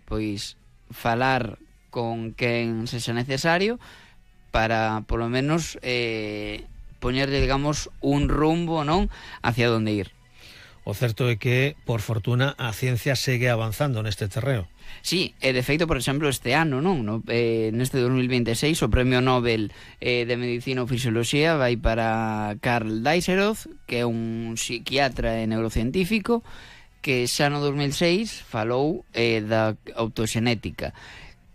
pois falar con quen sexa necesario para, polo menos, poñerlle, digamos, un rumbo, non, hacia onde ir. O certo é que, por fortuna, a ciencia segue avanzando neste terreo. Sí, de feito, por exemplo, este ano, non? Neste 2026, o Premio Nobel de Medicina ou Fisioloxía vai para Karl Dijkshof, que é un psiquiatra e neurocientífico, que xa no 2006 falou da autoxenética,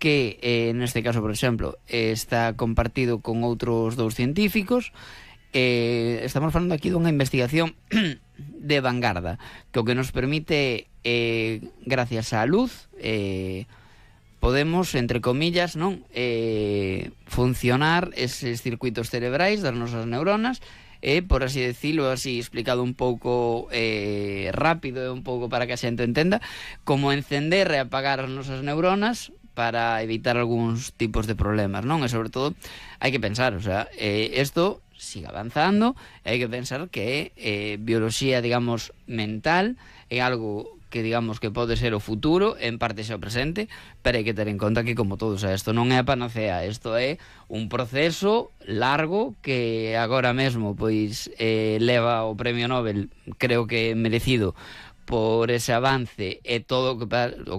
que neste caso, por exemplo, está compartido con outros dous científicos. Estamos falando aquí dunha investigación de vanguarda, que o que nos permite, gracias á luz, podemos, entre comillas, non, funcionar eses circuitos cerebrais das nosas neuronas, por así decirlo, así explicado un pouco rápido e un pouco para que a xente entenda, como encender e apagar as nosas neuronas para evitar algúns tipos de problemas, non? E sobre todo hai que pensar, o sea, isto siga avanzando, e hai que pensar que bioloxía, digamos, mental é algo que, digamos, que pode ser o futuro, en parte xa o presente, pero hai que ter en conta que, como todo, o sea, isto non é a panacea, isto é un proceso largo que agora mesmo, pois, leva o Premio Nobel, creo que merecido, por ese avance, e todo o que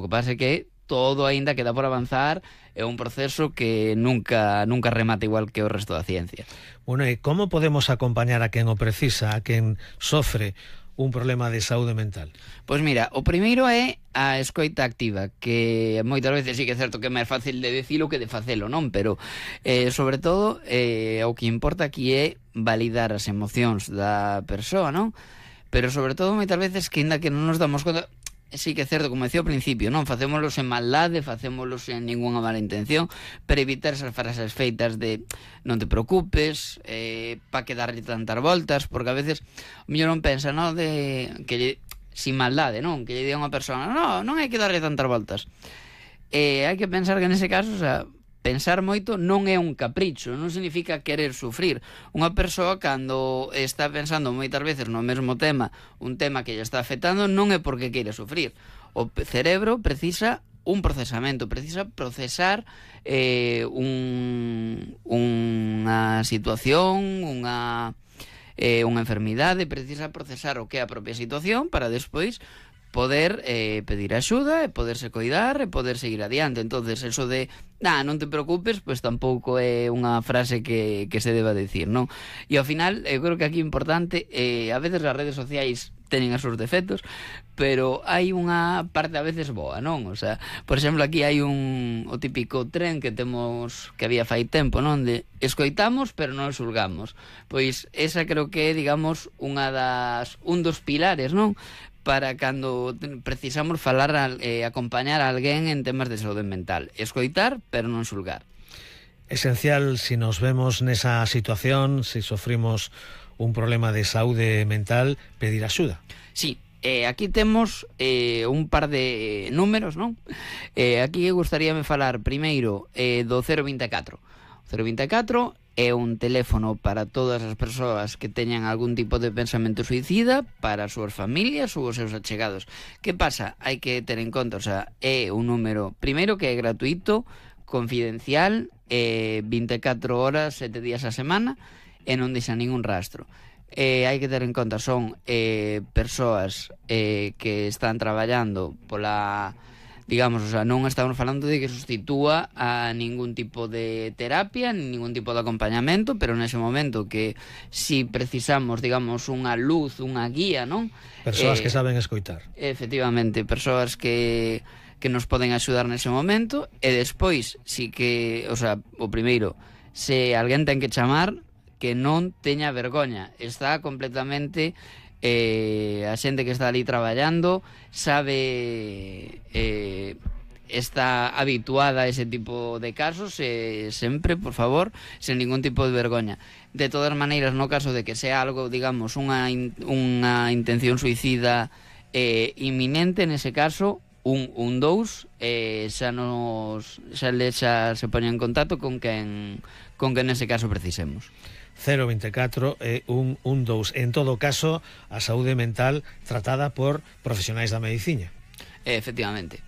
pasa é que todo aínda queda por avanzar, é un proceso que nunca remata igual que o resto da ciencia. Bueno, e como podemos acompañar a quen o precisa, a quen sofre un problema de saúde mental? Pois mira, o primeiro é a escoita activa, que moitas veces sí que é certo que é máis fácil de dicilo que de facelo, non? Pero, sobre todo, o que importa aquí é validar as emocións da persoa, non? Pero, sobre todo, moitas veces que ainda que non nos damos conta... Sí que é certo, como decía ao principio, non facémolos en maldade, facémolos en ningunha mala intención, para evitar esas frases feitas de non te preocupes, pa que darlle tantas voltas, porque a veces o mellor non pensa, non, de que sin maldade, non, que lle diga unha persona, non hai que darlle tantas voltas. Hai que pensar que nese caso, o sea, pensar moito non é un capricho, non significa querer sufrir. Unha persoa, cando está pensando moitas veces no mesmo tema, un tema que lle está afectando, non é porque queira sufrir. O cerebro precisa un procesamento, precisa procesar unha situación, unha enfermidade, precisa procesar o que é a propia situación para despois poder pedir axuda e poderse coidar e poder seguir adiante. Entonces, eso de non te preocupes, pois tampouco é unha frase que se deba decir, non? E ao final, eu creo que aquí é importante, a veces as redes sociais teñen os seus defectos, pero hai unha parte a veces boa, non? O sea, por exemplo, aquí hai o típico tren que temos, que había fai tempo, non? De escoitamos, pero non xulgamos. Pois esa creo que é, digamos, un dos pilares, non? Para cando precisamos falar, acompañar a alguén en temas de saúde mental. Escoitar, pero non xulgar. Esencial, si nos vemos nesa situación, si sofrimos un problema de saúde mental, pedir axuda. Sí, aquí temos un par de números, non? Aquí gustaríame falar primeiro do 024. O 024 é un teléfono para todas as persoas que teñan algún tipo de pensamento suicida, para as súas familias ou os seus achegados. Que pasa? Hai que ter en conta, o sea, é un número, primeiro, que é gratuito, confidencial, 24 horas, 7 días a semana, e non deixa ningún rastro. Hai que ter en conta, son persoas que están traballando pola... Digamos, o sea, non estamos falando de que sustitúa a ningún tipo de terapia, ningún tipo de acompañamento, pero nese momento que si precisamos, digamos, unha luz, unha guía, non? Persoas que saben escoitar. Efectivamente, persoas que nos poden axudar nese momento, e despois, si que, o sea, o primeiro, se alguén ten que chamar, que non teña vergoña, está completamente... a xente que está ali traballando sabe, está habituada a ese tipo de casos, sempre, por favor, sen ningún tipo de vergoña. De todas maneiras, no caso de que sea algo, digamos, unha intención suicida inminente, nese caso, un 2 xa se poña en contacto con quen nese caso precisemos. 024 e 112. En todo caso, a saúde mental tratada por profesionais da medicina. Efectivamente.